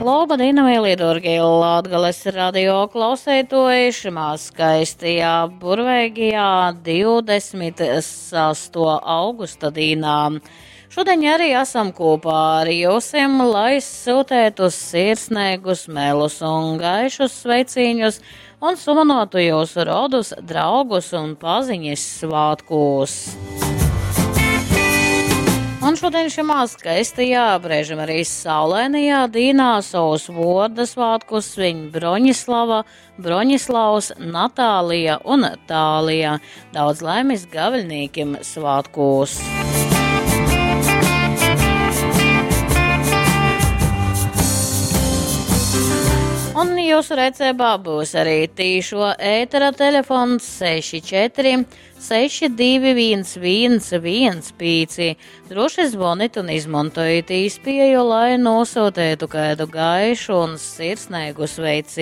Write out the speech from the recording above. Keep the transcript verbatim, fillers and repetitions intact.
Laba dīna, mīlī dārgie Latgales radio klausētoji šimā skaistajā burveigajā divdesmit sesto augusta dīnā. Šodien arī esam kopā ar jūsim, lai sūtētu sirsnīgus, melus un gaišus sveicīņus un sumanotu jūsu rodus, draugus un paziņas svātkūs. Un šodien šimā skaistajā, brēžam arī saulainajā dīnā savus vorda svātkus svin Broņislava, Broņislavs, Natālija un Tālija. Daudz laimes gaviļnīkim svātkūs! Un jūsu rīcībā būs arī tīšo ētera telefons seši četri seši divi viens viens viens pīci. Droši zvonit un izmantojiet īspēju, lai nosūtītu kādu gaišu un sirsnīgu sveicienu.